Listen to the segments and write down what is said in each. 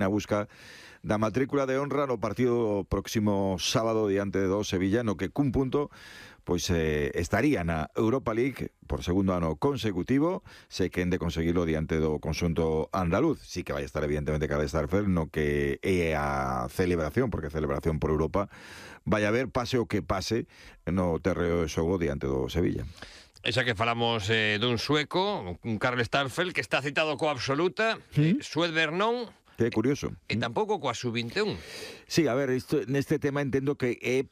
na busca da matrícula de honra no partido próximo sábado diante do Sevilla, no que cun punto pois estaría na Europa League por segundo ano consecutivo, se quen de conseguilo diante do conxunto andaluz. Sí que vai estar evidentemente Karl Starfelt no que é a celebración, porque celebración por Europa vai haber pase o que pase no terreo de xogo diante do Sevilla. Esa que falamos dun sueco, un Karl Starfelt, que está citado coa absoluta, Suedberg non, Que é curioso. e tampouco coa sub-21. Sí, a ver, neste tema entendo que é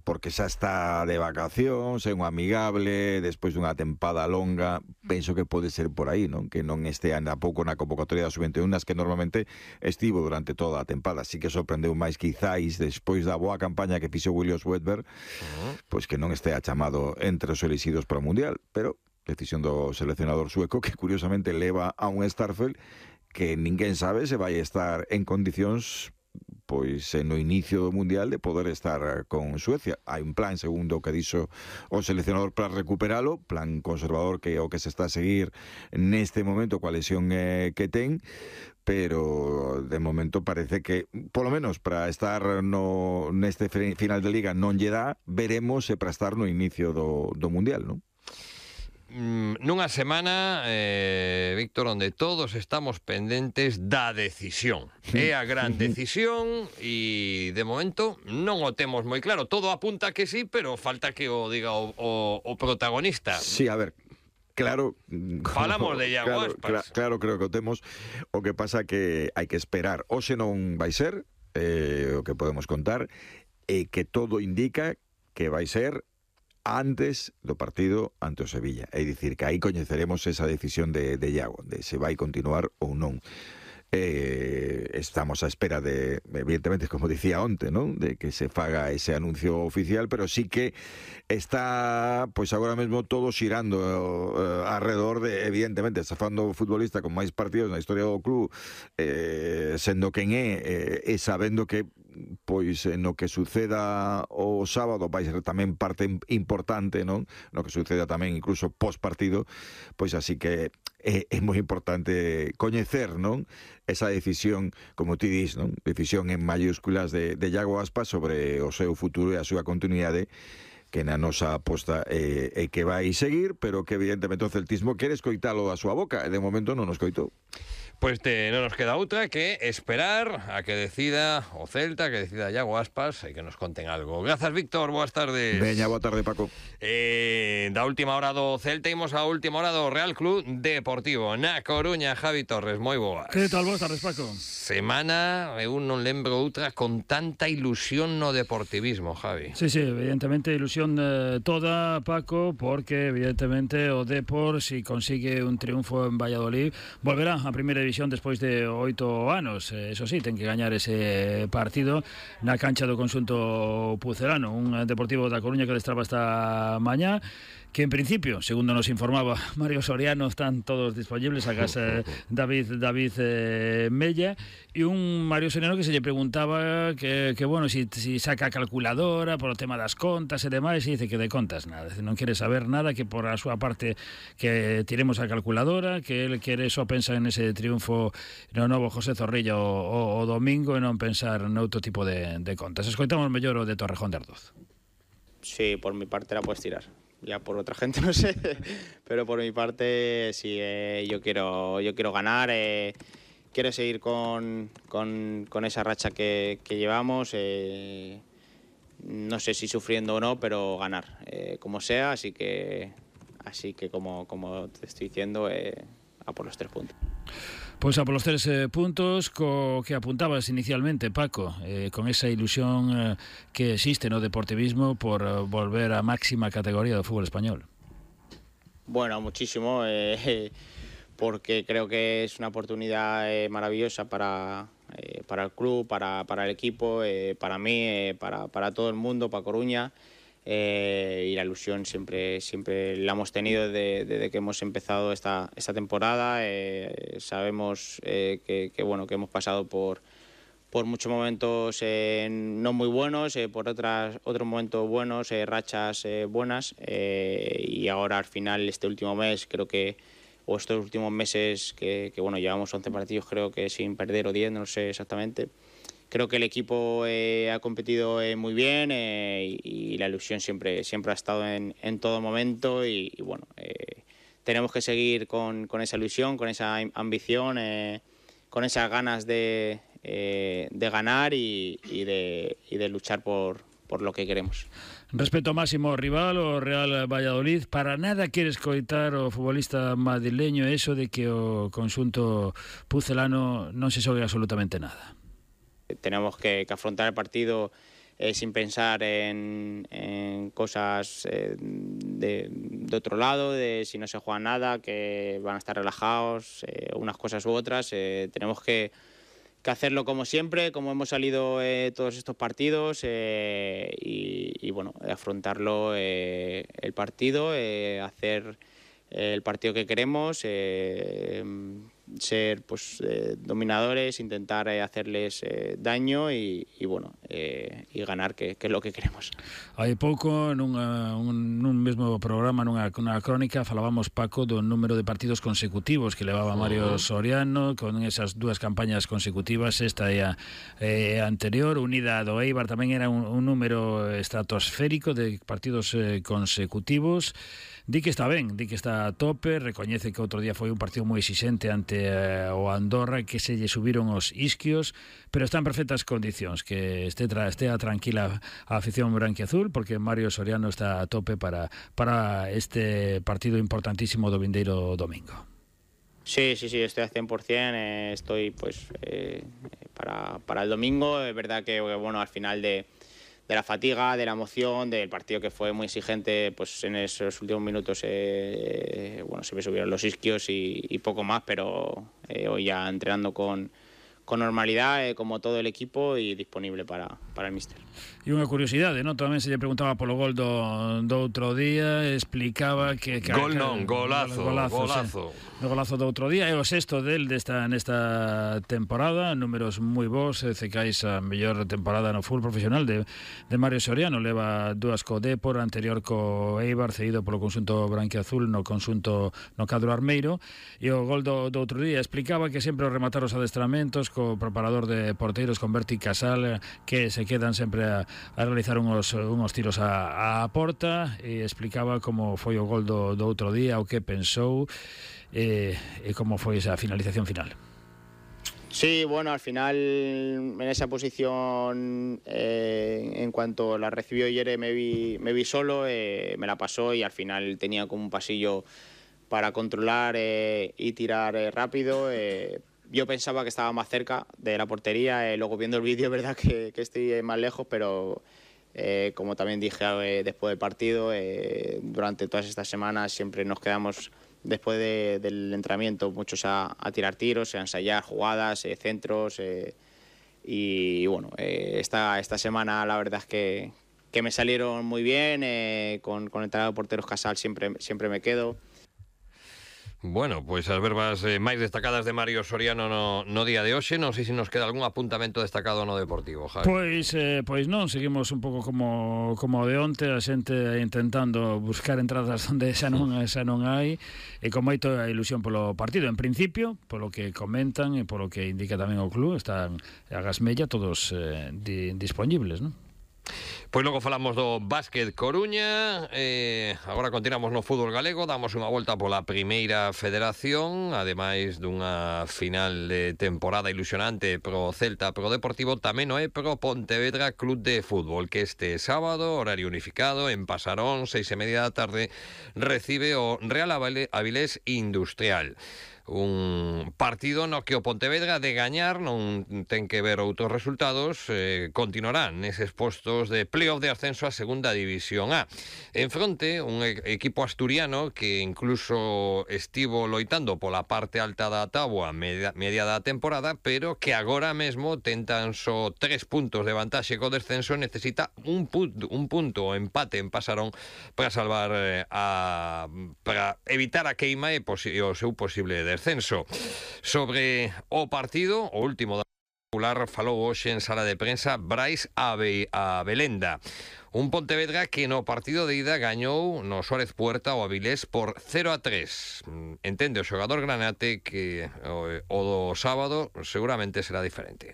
porque xa está de vacacións, é un amigable, despois dunha tempada longa, penso que pode ser por aí, non? Que non este ano pouco na convocatoria da sub-21, nas que normalmente estivo durante toda a tempada. Sí que sorprendeu máis quizáis despois da boa campaña que fixo William Swedberg, pois que non estea chamado entre os elixidos para o Mundial, pero decisión do seleccionador sueco que curiosamente leva a un Starfelt que ninguén sabe se vai estar en condicións pois no inicio do Mundial de poder estar con Suecia. Hai un plan, segundo o que dixo o seleccionador, para recuperalo, plan conservador que é o que se está a seguir neste momento coa lesión que ten, pero de momento parece que, polo menos para estar neste final de Liga non lle dá, veremos se para estar no inicio do Mundial, non? Nunha semana, Víctor, onde todos estamos pendentes da decisión. É a gran decisión e, de momento, non o temos moi claro. Todo apunta que sí, pero falta que o diga o protagonista. Sí, a ver, claro, falamos de Iago Aspas. Claro, creo que o temos. O que pasa que hai que esperar. Hoxe non vai ser, o que podemos contar, e que todo indica que vai ser antes do partido ante o Sevilla. É dicir, que aí coñeceremos esa decisión de Iago, de se vai continuar ou non. Estamos á espera de, evidentemente, como dicía onte, non? De que se faga ese anuncio oficial, pero sí que está, pois agora mesmo todo xirando alrededor de, evidentemente, está falando o futbolista con máis partidos na historia do club, sendo quen é, e sabendo que pois no que suceda o sábado vai ser tamén parte importante, non? No que suceda tamén incluso post partido, pois así que é moi importante coñecer, non? Esa decisión, como ti dis, non? Decisión en mayúsculas de Iago Aspas sobre o seu futuro e a súa continuidade, que na nosa aposta é que vai seguir, pero que evidentemente o celtismo quere escoitalo da súa boca, e de momento non nos coitou. Pues non nos queda outra que esperar a que decida o Celta, que decida Iago Aspas e que nos conten algo. Grazas, Víctor, boas tardes. Veña, boa tarde, Paco. Da última hora do Celta imos a última hora do Real Club Deportivo na Coruña. Javi Torres, moi boas. Que tal, boas tardes, Paco? Semana, eu non lembro outra con tanta ilusión no deportivismo, Javi. Sí, evidentemente ilusión toda, Paco, porque evidentemente o Depor, si consigue un triunfo en Valladolid, volverá a primeira división despois de 8 anos. Eso sí, ten que gañar ese partido na cancha do conxunto pucelano. Un Deportivo da Coruña que destraba esta mañá, que en principio, segundo nos informaba Mario Soriano, están todos disponibles a casa David Mella, e un Mario Soriano que se lle preguntaba que bueno, si saca a calculadora por o tema das contas e demais, e dice que de contas nada, non quere saber nada, que por a súa parte que tiremos a calculadora, que el quere só pensar en ese triunfo no novo José Zorrilla o domingo e non pensar noutro tipo de contas. Escoitamos mellor o de Torrejón de Ardoz. Sí, por mi parte la puedes tirar. Ya por otra gente no sé, pero por mi parte sí, yo quiero ganar, quiero seguir con esa racha que llevamos, no sé si sufriendo o no, pero ganar, como sea, así que como te estoy diciendo, a por los 3 puntos. Pois a polos 3 puntos co que apuntabas inicialmente, Paco, con esa ilusión que existe no deportivismo por volver á máxima categoría do fútbol español. Bueno, muchísimo, porque creo que es una oportunidad maravillosa para el club, para el equipo, para mí, para todo el mundo, para Coruña. Y la ilusión siempre la hemos tenido desde que hemos empezado esta temporada. Sabemos que hemos pasado por muchos momentos no muy buenos, por otros momentos buenos, rachas buenas, y ahora al final este último mes creo que o estos últimos meses que bueno, llevamos 11 partidos creo que sin perder o 10, no sé exactamente. Creo que el equipo ha competido muy bien y la ilusión siempre ha estado en todo momento y bueno, tenemos que seguir con esa ilusión, con esa ambición, con esas ganas de ganar y de luchar por lo que queremos. Respecto ao máximo rival, o Real Valladolid, para nada quere escoitar o futbolista madrileño eso de que o conxunto pucelano non se xogue absolutamente nada. Tenemos que afrontar el partido sin pensar en cosas de otro lado, de si no se juega nada, que van a estar relajados, unas cosas u otras. Tenemos que hacerlo como siempre, como hemos salido todos estos partidos y bueno, afrontarlo el partido, hacer el partido que queremos, ser pues dominadores, intentar hacerles daño y bueno, y ganar, que é lo que queremos. Hai pouco nun mesmo programa, nunha crónica, falábamos, Paco, do número de partidos consecutivos que levaba Mario Soriano, con esas dúas campañas consecutivas, esta e a anterior, unida do Eibar, tamén era un número estratosférico de partidos consecutivos. Di que está ben, di que está a tope, recoñece que outro día foi un partido moi exixente ante o Andorra, que se lle subiron os isquios, pero está en perfectas condicións, que estea tranquila a afición branquiazul, porque Mario Soriano está a tope para este partido importantísimo do vindeiro domingo. Sí, estoy al 100%, estoy pues para el domingo. Es verdad que bueno, al final de la fatiga, de la emoción, del partido que fue muy exigente, pues en esos últimos minutos bueno, se me subieron los isquios y poco más, pero hoy ya entrenando con normalidad, como todo el equipo, y disponible para el míster. E unha curiosidade, non? Tamén se lle preguntaba polo gol do outro día, explicaba que Gol non, golazo. O golazo do outro día é o sexto del nesta temporada, números moi bons, cecais a mellor temporada no fútbol profesional de Mario Soriano, leva dúas co Depor, anterior co Eibar, cedido polo conxunto branquiazul no cadro armeiro, e o gol do outro día explicaba que sempre ao rematar os adestramentos co preparador de porteiros, con Berti Casal, que se quedan sempre a realizar unhos tiros a porta, e explicaba como foi o gol do outro día, o que pensou e como foi esa finalización final. Sí, bueno, al final en esa posición, en cuanto la recibió Yere, me vi solo, me la pasó y al final tenía como un pasillo para controlar y tirar rápido. Yo pensaba que estaba más cerca de la portería, luego viendo el vídeo es verdad que estoy más lejos, pero como también dije después del partido, durante todas estas semanas siempre nos quedamos después del entrenamiento muchos a tirar tiros, a ensayar jugadas, centros, y bueno, esta semana la verdad es que me salieron muy bien, con el entrenador de porteros Casal siempre me quedo. Bueno, pois as verbas máis destacadas de Mario Soriano no día de hoxe. Non sei se nos queda algún apuntamento destacado no Deportivo, Javi. Pois non, seguimos un pouco como de onte, a xente intentando buscar entradas onde xa non hai, e con moita ilusión polo partido. En principio, polo que comentan e polo que indica tamén o club, están a Gasmella todos disponibles, non? Pois logo falamos do Básquet Coruña, agora continuamos no fútbol galego, damos unha volta pola Primeira Federación, ademais dunha final de temporada ilusionante pro Celta, pro Deportivo, tamén o é pro Pontevedra Club de Fútbol, que este sábado, horario unificado, en Pasarón, 6:30 da tarde, recibe o Real Avilés Industrial. Un partido no que o Pontevedra, de gañar, non ten que ver outros resultados, continuarán neses postos de playoff de ascenso a Segunda División A. En fronte, un equipo asturiano que incluso estivo loitando pola parte alta da táboa media da temporada, pero que agora mesmo tentan só 3 puntos de vantaxe co descenso, necesita un punto o empate en Pasarón para salvar para evitar a queima e o seu posible descenso. Sobre o partido, o último Popular falou hoxe en sala de prensa Brais Abelenda. Un Pontevedra que no partido de ida gañou no Suárez Puerta o Avilés por 0-3. Entende o xogador granate que o do sábado seguramente será diferente.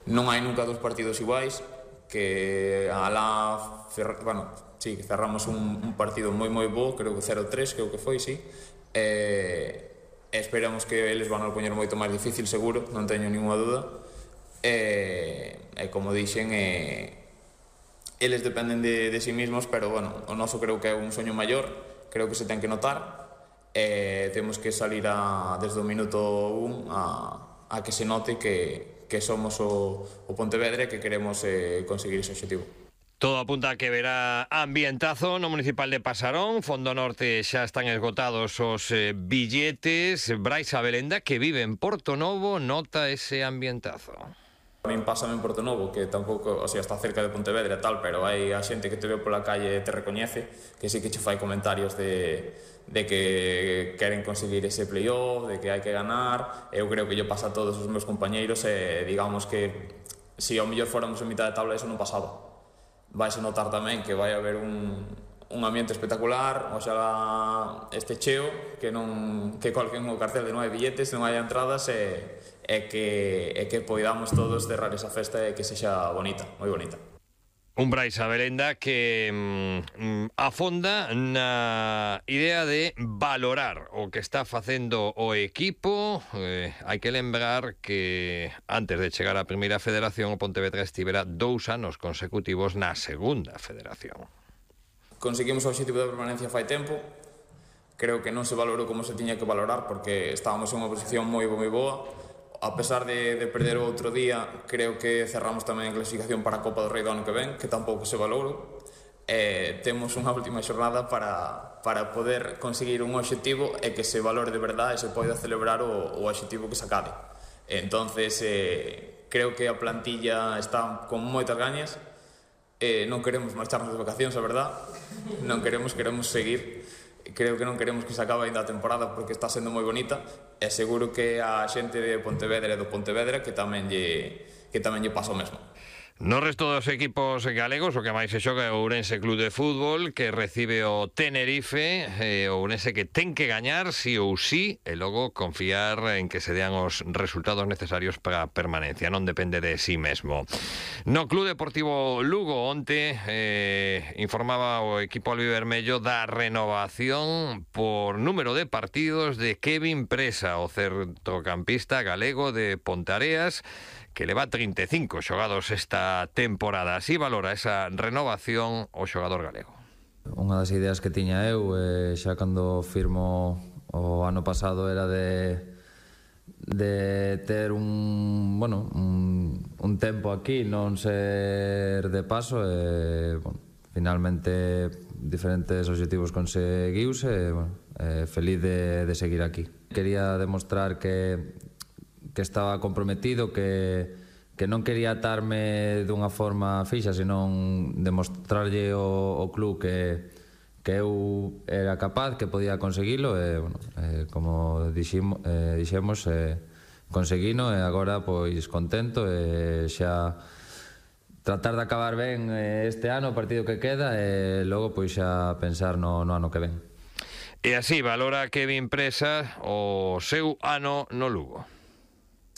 Non hai nunca dos partidos iguais, que alá cerramos un partido moi bo, creo que 0-3, creo que foi, sí. Esperamos que eles van a poñer moito máis difícil, seguro, non teño ninguna dúda. Como dixen, eles dependen de si mismos, pero bueno, o noso creo que é un soño maior, creo que se ten que notar. Temos que salir desde o minuto 1 a que se note que somos o Pontevedra e que queremos conseguir ese objetivo. Todo apunta a que verá ambientazo no municipal de Pasarón. Fondo Norte xa están esgotados os billetes. Brais Abelenda, que vive en Portonovo, nota ese ambientazo. A min pásame en Portonovo, que tampouco, o sea, está cerca de Pontevedra e tal, pero hai a xente que te ve pola calle e te recoñece, que sí que che fai comentarios de que queren conseguir ese playoff, de que hai que ganar. Eu creo que yo pasa a todos os meus compañeiros e digamos que se ao mellor fóramos en mitad de tabla eso non pasaba. Vais a notar tamén que vai haber un ambiente espectacular, o xa este cheo, que colquen o cartel de non hai billetes, non hai entradas e que poidamos todos cerrar esa festa e que sexa bonita, moi bonita. Un Brais Abelenda que afonda na idea de valorar o que está facendo o equipo. Hai que lembrar que antes de chegar á primeira federación o Pontevedra estivera 2 anos consecutivos na segunda federación. Conseguimos o objetivo de permanencia fai tempo. Creo que non se valorou como se tiña que valorar porque estábamos en unha posición moi boa. A pesar de perder o outro día, creo que cerramos tamén a clasificación para a Copa do Rei do ano que ven, que tampouco se valorou. Temos unha última xornada para poder conseguir un objetivo e que se valore de verdade e se poida celebrar o objetivo que se acabe. Entonces, creo que a plantilla está con moitas gañas. Non queremos marcharnos de vacacións, a verdad. Non queremos seguir. Creo que non queremos que se acabe ainda a temporada porque está sendo moi bonita e seguro que a xente de Pontevedra e do Pontevedra que tamén lle pasa o mesmo. No resto dos equipos galegos, o que máis se xoga é o Ourense Club de Fútbol, que recibe o Tenerife, o Ourense que ten que gañar sí ou sí, e logo confiar en que se dean os resultados necesarios para a permanencia, non depende de sí mesmo. No Club Deportivo Lugo onte informaba o equipo albivermello da renovación por número de partidos de Kevin Presa, o centrocampista galego de Ponteareas, que leva 35 xogados esta temporada. Así valora esa renovación o xogador galego. Unha das ideas que tiña eu xa cando firmo o ano pasado era de ter un tempo aquí, non ser de paso e finalmente diferentes obxectivos conseguiuse e feliz de seguir aquí. Quería demostrar que estaba comprometido, que non quería atarme dunha forma fixa, senón demostrarlle ao club que eu era capaz, que podía conseguilo e, como dixemos, conseguino e agora pois contento e xa tratar de acabar ben este ano, o partido que queda e logo pois xa pensar no ano que ven. E así valora Kevin Presa o seu ano no Lugo.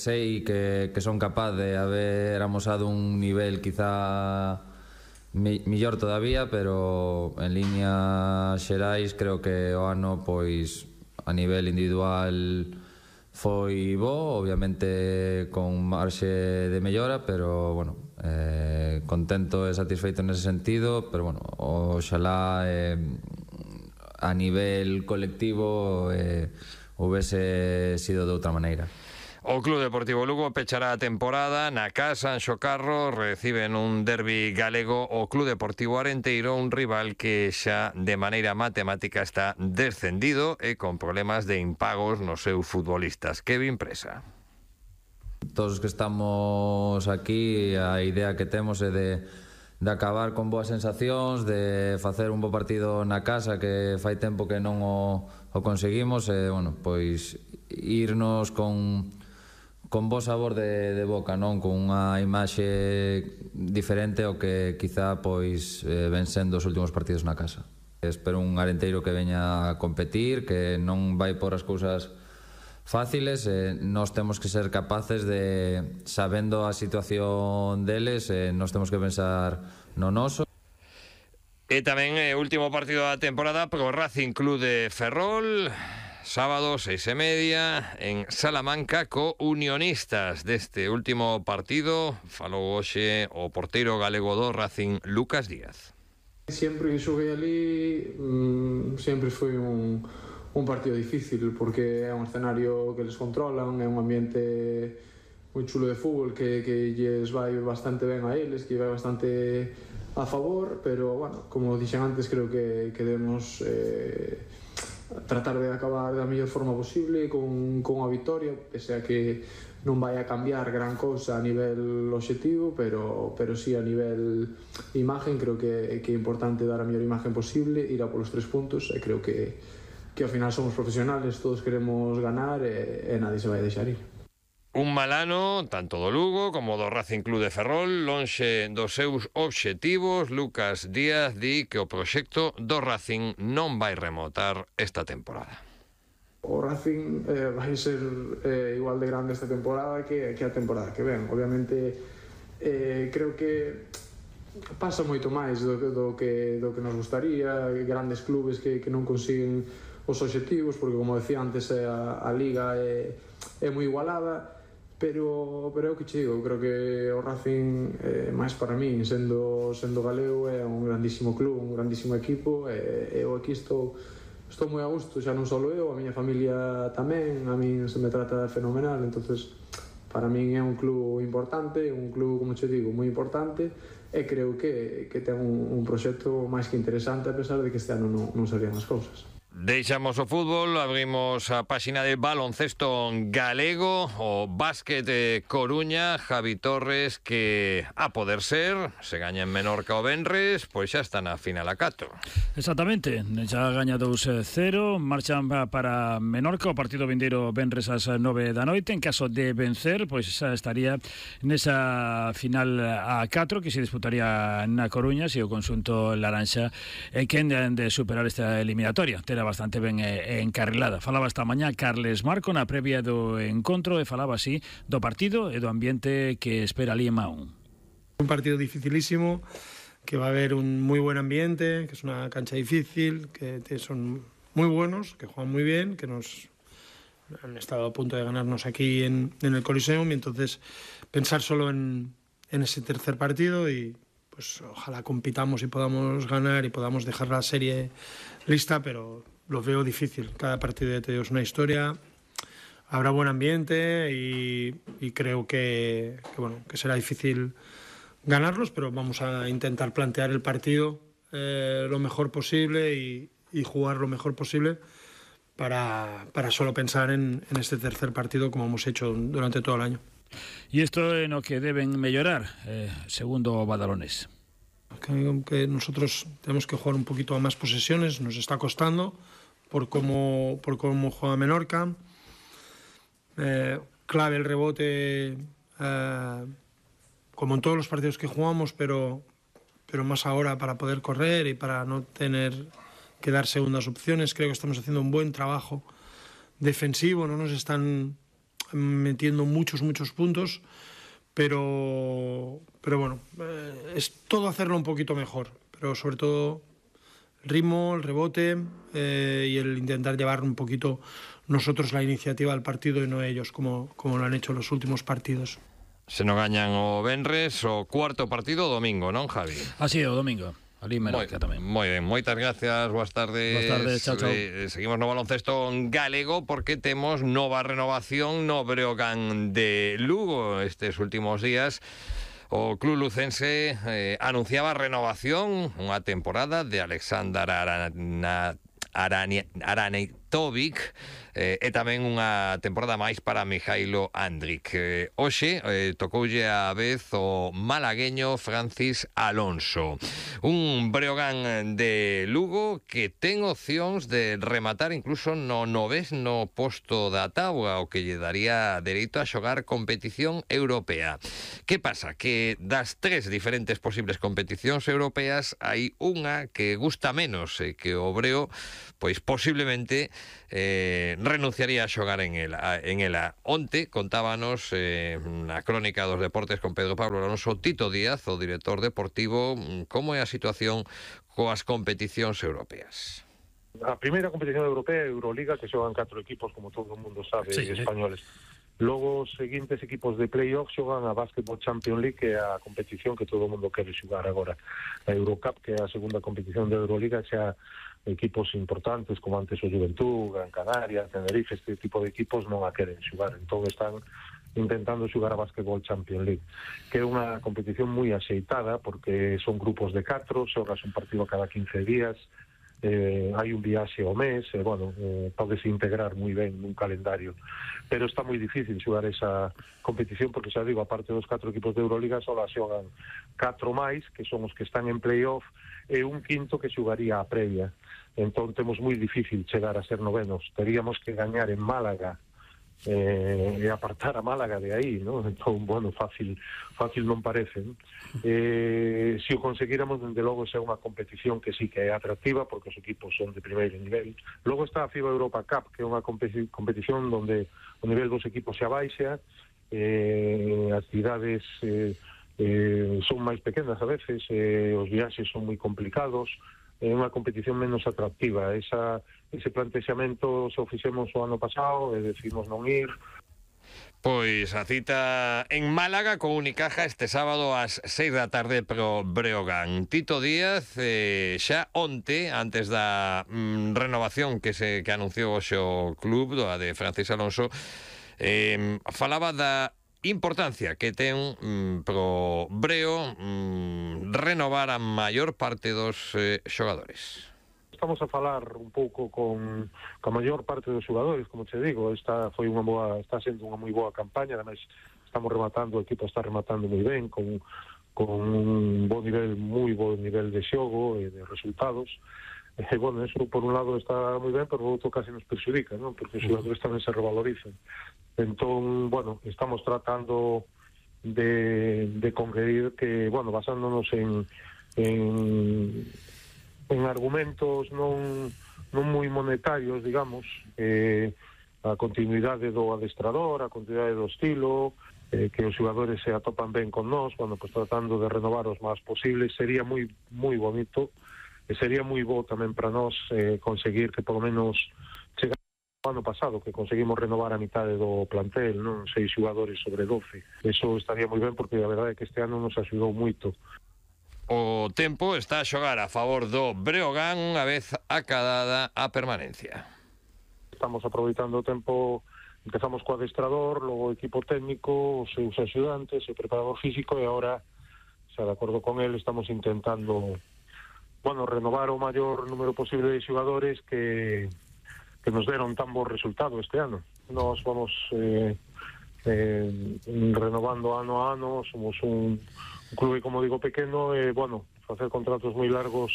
Sei que son capaz de haber amosado un nivel quizá mellor todavía, pero en líneas xerais creo que o ano pois a nivel individual foi bo, obviamente con marxe de mellora, pero contento e satisfeito nese sentido, pero oxalá a nivel colectivo houvese sido de outra maneira. O Club Deportivo Lugo pechará a temporada na casa en Xocarro, reciben un derbi galego o Club Deportivo Arenteiro, un rival que xa de maneira matemática está descendido e con problemas de impagos nos seus futbolistas. Kevin Presa. Todos os que estamos aquí, a idea que temos é de acabar con boas sensacións, de facer un bo partido na casa que fai tempo que non o conseguimos e, pois, irnos con con bo sabor de boca, non? Con unha imaxe diferente ao que quizá pois ven sendo os últimos partidos na casa. Espero un Arenteiro que veña a competir, que non vai por as cousas fáciles, nós temos que ser capaces de, sabendo a situación deles, nós temos que pensar no noso. E tamén último partido da temporada pro Racing Club de Ferrol, sábado 6:30 en Salamanca co Unionistas. Deste último partido falou hoxe o porteiro galego do Racing, Lucas Díaz. Sempre que xoguei ali sempre foi un partido difícil, porque é un escenario que les controlan, é un ambiente moi chulo de fútbol que lles vai bastante ben a eles, que vai bastante a favor, pero, bueno, como dixen antes, creo que debemos tratar de acabar da mellor forma posible con a vitoria, pese a que non vai a cambiar gran cousa a nivel obxectivo, pero sí a nivel imagen. Creo que é importante dar a mellor imagen posible, ir a polos 3 puntos, e creo que ao final somos profesionales, todos queremos ganar e nadie se vai deixar ir. Un mal ano, tanto do Lugo como do Racing Club de Ferrol, lonxe dos seus obxectivos. Lucas Díaz di que o proxecto do Racing non vai remotar esta temporada. O Racing vai ser igual de grande esta temporada que a temporada que ven. Obviamente, creo que pasa moito máis do que nos gustaría. Grandes clubes que non consiguen os obxectivos, porque, como decía antes, a Liga é moi igualada. Pero é o que che digo, creo que o Racing, máis para min, sendo galego, é un grandísimo club, un grandísimo equipo, e eu aquí estou moi a gusto, xa non só eu, a miña familia tamén, a min se me trata fenomenal. Entonces, para min é un club importante, un club, como che digo, moi importante, e creo que ten un proxecto máis que interesante, a pesar de que este ano non salían as cousas. Deixamos o fútbol, abrimos a páxina de baloncesto galego, o básquet de Coruña. Javi Torres, que a poder ser, se gaña en Menorca o venres, pois xa está na final a 4. Exactamente, xa gaña 2-0, marchan para Menorca, o partido vindeiro venres ás 9 da noite. En caso de vencer, pois xa estaría nesa final a 4 que se disputaría na Coruña, se o conxunto laranxa quen de superar esta eliminatoria. Terá bastante ben encarrilada. Falaba esta mañá Carles Marco na previa do encontro e falaba así do partido e do ambiente que espera ali en Mahón. Un partido dificilísimo, que va a haber un muy buen ambiente, que es una cancha difícil, que son muy buenos, que juegan muy bien, que nos han estado a punto de ganarnos aquí en el Coliseum, y entonces pensar solo en ese tercer partido y pues ojalá compitamos y podamos ganar y podamos dejar la serie lista, pero lo veo difícil. Cada partido de Teo es una historia, habrá buen ambiente y creo que será difícil ganarlos, pero vamos a intentar plantear el partido lo mejor posible y jugar lo mejor posible para solo pensar en este tercer partido, como hemos hecho durante todo el año. Y esto es lo que deben mejorar, segundo Badalones. Que nosotros tenemos que jugar un poquito a más posesiones, nos está costando por cómo juega Menorca. Clave el rebote, como en todos los partidos que jugamos, pero más ahora para poder correr y para no tener que dar segundas opciones. Creo que estamos haciendo un buen trabajo defensivo, no nos están metiendo muchos puntos, pero bueno, es todo hacerlo un poquito mejor, pero sobre todo el ritmo, el rebote y el intentar llevar un poquito nosotros la iniciativa al partido y no ellos, como lo han hecho los últimos partidos. Se non gañan o venres, o cuarto partido o domingo, non, Javi? Así é, o domingo. Ali Menorca tamén. Moi ben, moitas gracias, boas tardes. Boas tardes, chao. Seguimos no baloncesto galego porque temos nova renovación no Breogán de Lugo estes últimos días. O club lucense anunciaba renovación, unha temporada de Alexander Tobic, e tamén unha temporada máis para Mijailo Andrić. Hoxe tocoulle a vez o malagueño Francis Alonso, un Breogán de Lugo que ten opcións de rematar incluso no 9º posto da táboa, o que lle daría dereito a xogar competición europea. Que pasa? Que das 3 diferentes posibles competicións europeas hai unha que gusta menos e que o Breo, pois posiblemente renunciaría a xogar en ela. Onte contábanos na crónica dos deportes con Pedro Pablo Alonso Tito Díaz, o director deportivo, como é a situación coas competicións europeas. A primeira competición europea é Euroliga, que xogan 4 equipos, como todo o mundo sabe, sí, españoles. Logo, os seguintes equipos de playoff xogan a Basketball Champions League, que é a competición que todo o mundo quere xogar agora. A Eurocup, que é a segunda competición de Euroliga, xa equipos importantes, como antes o Juventud, Gran Canaria, Tenerife, este tipo de equipos non a queren xogar. Entón están intentando xogar a Basketball Champions League, que é unha competición moi axeitada, porque son grupos de 4, xogas un partido cada 15 días, hai un viaxe ao mes, podes integrar moi ben nun calendario, pero está moi difícil xogar esa competición, porque xa digo, aparte dos 4 equipos de Euroliga, só xogan 4 máis, que son os que están en playoff, e un quinto que xogaría a previa. Entón temos moi difícil chegar a ser novenos, teríamos que gañar en Málaga e apartar a Málaga de aí, ¿no? Entón, fácil non parece, ¿no? Se o conseguíramos, dende logo, é unha competición que sí que é atractiva, porque os equipos son de primeiro nivel. Logo está a FIBA Europa Cup, que é unha competición onde o nivel dos equipos se abaixa, as cidades son máis pequenas a veces, os viaxes son moi complicados, é unha competición menos atractiva. Ese plantexamento se o fixemos o ano pasado e decidimos non ir. Pois a cita en Málaga con Unicaja este sábado ás 6 da tarde pro Breogán. Tito Díaz, xa onte, antes da renovación que anunciou hoxe o club, a de Francis Alonso, falaba da importancia que ten pro Breo renovar a maior parte dos xogadores. Estamos a falar un pouco con a maior parte dos xogadores, como te digo, está sendo unha moi boa campaña, ademais estamos rematando, o equipo está rematando moi ben, con un moi bo nivel de xogo e de resultados. Eso por un lado está moi ben, pero por outro casi nos perxudica, ¿no? Porque os xogadores tamén se revalorizan. Entón, estamos tratando de conseguir que, basándonos en argumentos non moi monetarios, digamos, a continuidade do adestrador, a continuidade do estilo, que os xogadores se atopan ben con nós, tratando de renovar os máis posibles, sería moi bonito, e sería moi bo tamén para nós conseguir que polo menos chegar ao ano pasado, que conseguimos renovar a mitade do plantel, non 6 xogadores sobre 12. Eso estaría moi ben, porque a verdade é que este ano nos axudou moito. O tempo está a xogar a favor do Breogán, unha vez acadada a permanencia. Estamos aproveitando o tempo, empezamos co adestrador, logo o equipo técnico, os seus axudantes, o preparador físico, e agora, xa de acordo con él, estamos intentando renovar o maior número posible de xogadores que nos deron tan bo resultado este ano. Nos vamos renovando ano a ano, somos un clube, como digo, pequeno, e, facer contratos moi largos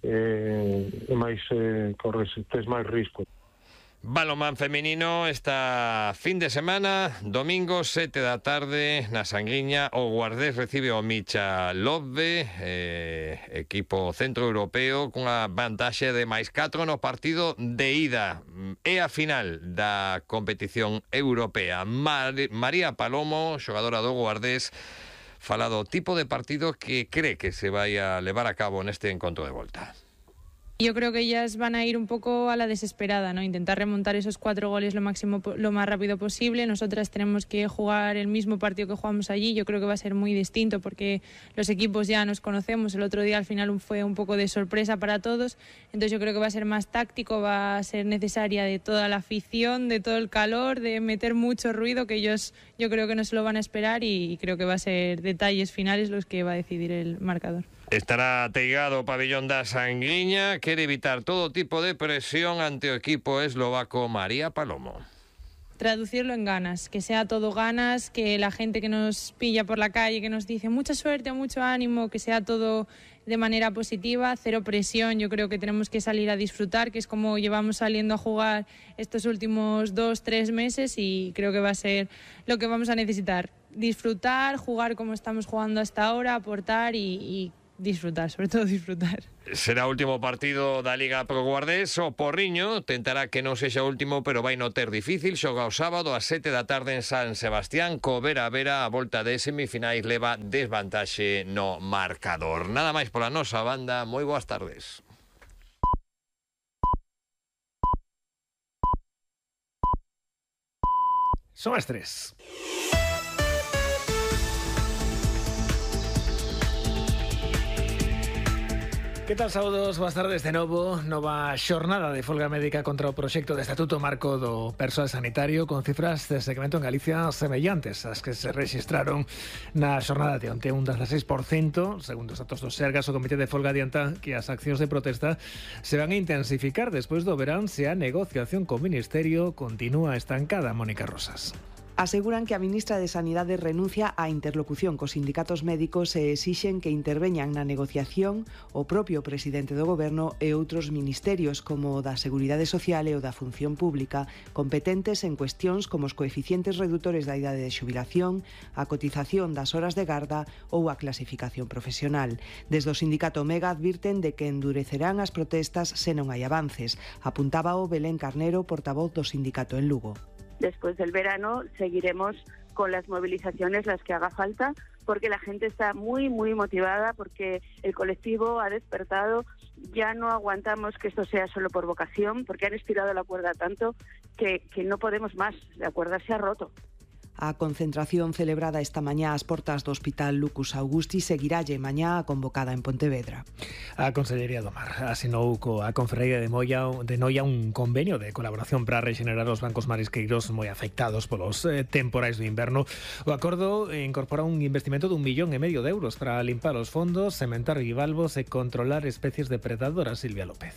tes máis risco. Balonmán femenino esta fin de semana, domingo 7 da tarde na Sangriña, o Guardés recibe o Michalove, equipo centroeuropeo cunha vantaxe de +4 no partido de ida. É a final da competición europea. María Palomo, xogadora do Guardés, fala do tipo de partido que cree que se vai a levar a cabo neste encontro de volta. Yo creo que ellas van a ir un poco a la desesperada, ¿no? Intentar remontar esos 4 goles lo más rápido posible. Nosotras tenemos que jugar el mismo partido que jugamos allí. Yo creo que va a ser muy distinto porque los equipos ya nos conocemos. El otro día al final fue un poco de sorpresa para todos. Entonces yo creo que va a ser más táctico, va a ser necesaria de toda la afición, de todo el calor, de meter mucho ruido, que ellos yo creo que no se lo van a esperar, y creo que va a ser detalles finales los que va a decidir el marcador. Estará ateigado o pabillón da Sanguiña, quere evitar todo tipo de presión ante o equipo eslovaco María Palomo. Traducirlo en ganas, que sea todo ganas, que la gente que nos pilla por la calle, que nos dice mucha suerte, mucho ánimo, que sea todo de manera positiva, cero presión. Yo creo que tenemos que salir a disfrutar, que es como llevamos saliendo a jugar estos últimos 2-3 meses, y creo que va a ser lo que vamos a necesitar. Disfrutar, jugar como estamos jugando hasta ahora, aportar y disfrutar, sobre todo disfrutar. Será o último partido da Liga Pro Guardés. O Porriño tentará que non sexa o último, pero vai no ter difícil. Xoga o sábado ás 7 da tarde en San Sebastián. Co Vera a Vera, a volta de semifinais leva desvantaxe no marcador. Nada máis pola nosa banda. Moi boas tardes. Son as 3. Que tal, saúdos, boas tardes de novo. Nova xornada de folga médica contra o proxecto de Estatuto Marco do Persoal Sanitario, con cifras de segmento en Galicia semellantes ás que se rexistraron na xornada de onte, un 16%. Segundo os datos do Sergas, o Comité de Folga adianta que as accións de protesta se van a intensificar despois do verán se a negociación co Ministerio continúa estancada. Mónica Rosas. Aseguran que a ministra de Sanidade renuncia á interlocución cos sindicatos médicos e exixen que interveñan na negociación o propio presidente do Goberno e outros ministerios como o da Seguridade Social e o da Función Pública, competentes en cuestións como os coeficientes redutores da idade de xubilación, a cotización das horas de garda ou a clasificación profesional. Desde o sindicato Mega advirten de que endurecerán as protestas se non hai avances. Apuntaba o Belén Carnero, portavoz do sindicato en Lugo. Después del verano seguiremos con las movilizaciones, las que haga falta, porque la gente está muy, muy motivada, porque el colectivo ha despertado. Ya no aguantamos que esto sea solo por vocación, porque han estirado la cuerda tanto que no podemos más. La cuerda se ha roto. A concentración celebrada esta mañá ás portas do Hospital Lucus Augusti seguiralle mañá a convocada en Pontevedra. A Consellería do Mar asinou coa Confraría de Noia un convenio de colaboración para rexenerar os bancos marisqueiros moi afectados polos temporais do inverno. O acordo incorpora un investimento de 1,5 millón de euros para limpar os fondos, sementar bivalvos e controlar especies depredadoras. Silvia López.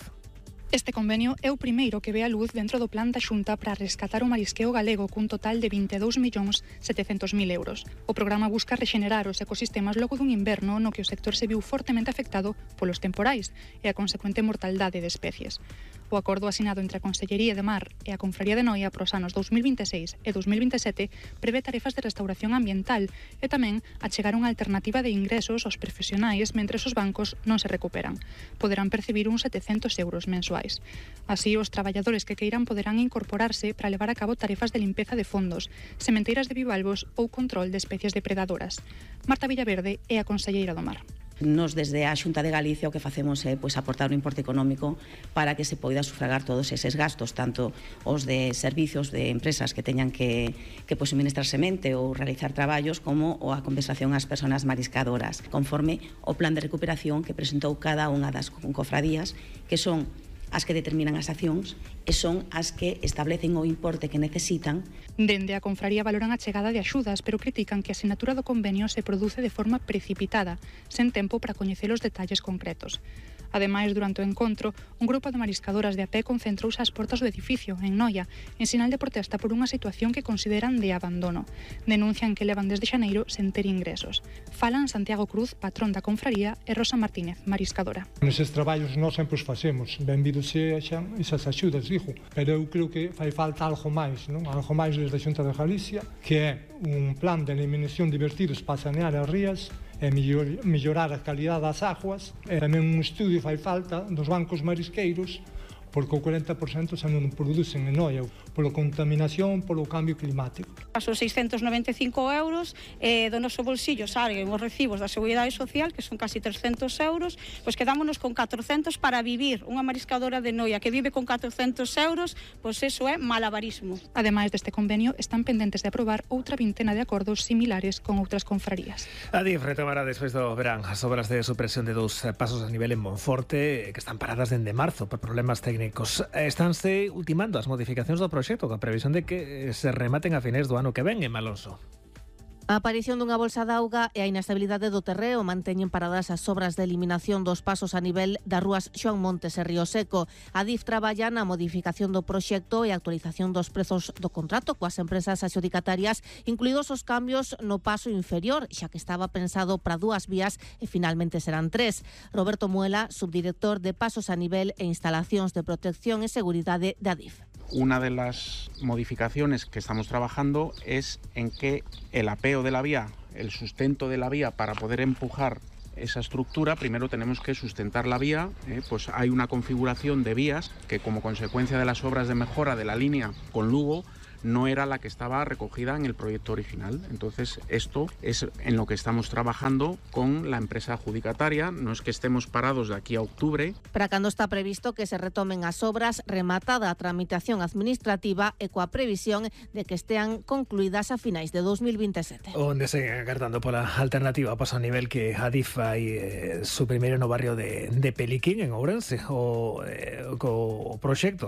Este convenio é o primeiro que ve a luz dentro do plan da Xunta para rescatar o marisqueo galego cun total de 22.700.000 euros. O programa busca rexenerar os ecosistemas logo dun inverno no que o sector se viu fortemente afectado polos temporais e a consecuente mortaldade de especies. O acordo asinado entre a Consellería de Mar e a Confraría de Noia para os anos 2026 e 2027 prevé tarefas de restauración ambiental e tamén achegar unha alternativa de ingresos aos profesionais mentres os bancos non se recuperan. Poderán percibir uns 700 euros mensuais. Así, os traballadores que queiran poderán incorporarse para levar a cabo tarefas de limpeza de fondos, sementeiras de bivalvos ou control de especies depredadoras. Marta Villaverde é a conselleira do Mar. Nos desde a Xunta de Galicia o que facemos é aportar un importe económico para que se poida sufragar todos eses gastos, tanto os de servicios de empresas que teñan que suministrar semente ou realizar traballos, como a compensación ás persoas mariscadoras, conforme o plan de recuperación que presentou cada unha das cofradías, que son as que determinan as accións e son as que establecen o importe que necesitan. Dende a Confraría valoran a chegada de axudas, pero critican que a sinatura do convenio se produce de forma precipitada, sen tempo para coñecer os detalles concretos. Ademais, durante o encontro, un grupo de mariscadoras de a pé concentrouse ás portas do edificio, en Noia, en sinal de protesta por unha situación que consideran de abandono. Denuncian que levan desde xaneiro sen ter ingresos. Falan Santiago Cruz, patrón da confraría, e Rosa Martínez, mariscadora. Neses traballos nós sempre os facemos, benvidos sexan esas axudas, digo, pero eu creo que fai falta algo máis, non? Algo máis desde a Xunta de Galicia, que é un plan de eliminación de vertidos para sanear as rías, e mellorar a calidade das aguas, e tamén un estudio fai falta dos bancos marisqueiros, porque o 40% xa non producen en Noia, pola contaminación, polo cambio climático. Os 695 euros do noso bolsillo salen os recibos da Seguridade Social, que son casi 300 euros, pois quedámonos con 400 para vivir. Unha mariscadora de Noia que vive con 400 euros, pois eso é malabarismo. Ademais deste convenio, están pendentes de aprobar outra vintena de acordos similares con outras confrarías. A DIF retomará despois do verán as obras de supresión de 2 pasos a nivel en Monforte, que están paradas dende marzo por problemas técnicos. Estánse ultimando as modificacións do proxecto, con a previsión de que se rematen a finais do ano que ven, en Malonso. A aparición dunha bolsa de auga e a inestabilidade do terreo manteñen paradas as obras de eliminación dos pasos a nivel das rúas Xoán Montes e Río Seco. A DIF traballa na modificación do proxecto e actualización dos prezos do contrato coas empresas adxudicatarias, incluídos os cambios no paso inferior, xa que estaba pensado para 2 vías e finalmente serán 3. Roberto Muela, subdirector de Pasos a Nivel e Instalacións de Protección e Seguridade da DIF. Una de las modificaciones que estamos trabajando es en que el apeo de la vía, el sustento de la vía para poder empujar esa estructura, primero tenemos que sustentar la vía, pues hay una configuración de vías que como consecuencia de las obras de mejora de la línea con Lugo no era la que estaba recogida en el proyecto original. Entonces, esto es en lo que estamos trabajando con la empresa adjudicataria. No es que estemos parados de aquí a octubre. Para cando está previsto que se retomen as obras, rematada a tramitación administrativa e coa previsión de que estean concluídas a finais de 2027. Onde seguen agartando pola alternativa a paso a nivel que Adif fai su primeiro no barrio de Peliquín, en Ourense, o proxecto